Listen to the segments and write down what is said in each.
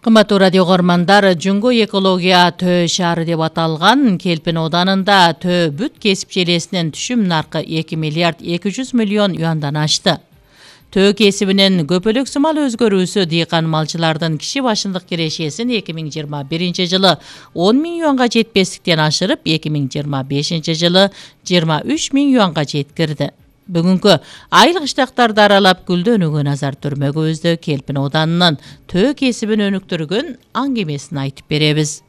Кымбаттуу радио көрмандар, Жүнгө экология төө шаары деп аталган Келпин Оданында төө бүт кесип желесинин түшүм наркы 2 миллиард 200 миллион юандан ашты. Төө кесибинин көпөлөк сымал өзгөрүүсү дыйкан малчылардын киши башындык кирешесин 2021 жылы 10 миң юанга жетпестиктен ашырып, 2025 жылы 23 миң юанга жеткирди. Бүгүнкү айыл кыштактарды аралап гүлдөнүүгө назар түрмөгүбүздө Келпин Оданынын төө кесибин өнүктүргөн аңгемесин айтып беребиз.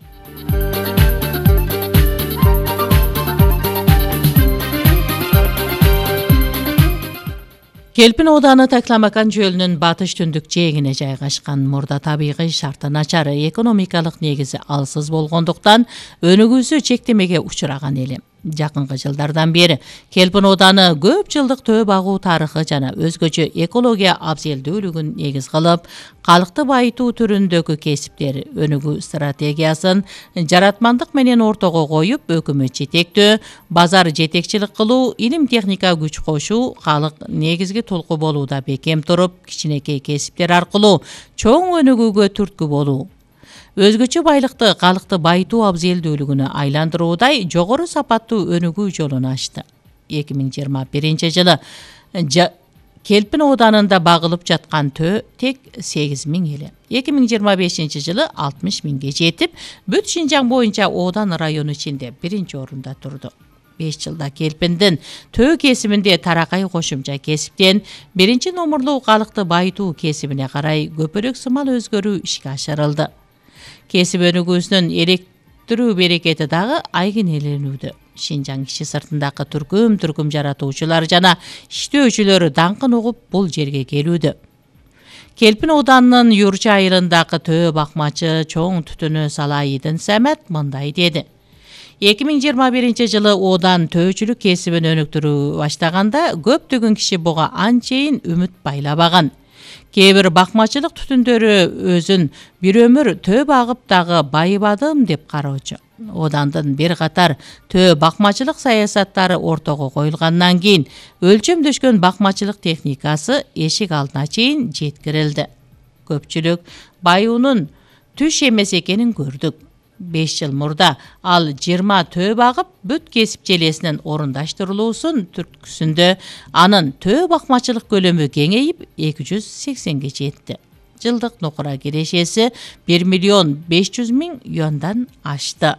Келпин Оданы Такламакан жөлүнүн батыш түндүк жээгине жайгашкан. Мурда табигый шарты начар, экономикалык негизи алсыз болгондуктан өнүгүүсү чектемеге учураган эли. Жакынкы жылдардан бери Келпин Оданы көп жылдык төө багуу тарыхы жана өзгөчө экология абзелдүүлүгүн негиз кылып, калкты байытуу түрүндөгү кесиптер өнүгүү стратегиясын жаратмандык менен ортого коюп, өкмөт жетектөө, базар жетекчилик кылуу, илим техника күч кошуу, калк негизги толку болууда бекем туруп, кичинекей кесиптер аркылуу чоң өнүгүүгө түрткү болуу. Өзгөчө байлыкты калкты байытуу абзелдүүлүгүнө айландыруудай жогору сапаттуу өнүгүү жолун ачты. 2021 жылы Келпин Оданында багылып жаткан төө тек 8 миң эле. 2025 жылы 60 миңге жетип, бүт Шинжаң боюнча Одан району ичинде биринчи орунда турду. 5 жылда Келпиндин төө кесибинде таракай кошумча кесиптен биринчи номурлуу калкты байытуу кесибине карай көпөлөк сымал өзгөрүү ишке ашырылды. Кесип өнүгүүсүнүн электирүү берекети дагы айгинеленүүдө. Шинжаң иши сыртындагы түркүм жаратуучулар жана иштөөчүлөр даңкын угуп бул жерге келүүдө. Келпин Оданынын Юрча айылындагы төө бакмачы чоң түтүнү Салайидин Самат мындай деди. 2021 жылы Одан төөчүлүк кесибин өнүктүрүү баштаганда көптөгөн киши буга анчейин үмүт байлабаган. Кээ бир бакмачылык түтүндөрү өзүн бир өмүр төө багып дагы байыбадым деп кароочу. Одандын бир катар төө бакмачылык саясаттары ортого коюлгандан кийин өлчөмдөшкөн бакмачылык техникасы эшик алдына чейин жеткирилди. Көпчүлүк байуунун түш эмес экенин көрдүк. 5 жыл мурда ал 20 төө багып, бүт кесип желесинин орундаштырылуусун түрткүсүндө анын төө бакмачылык көлөмү кеңейип 280ге жетти. Жылдык нокура кирешеси 1 миллион 500 миң юандан ашты.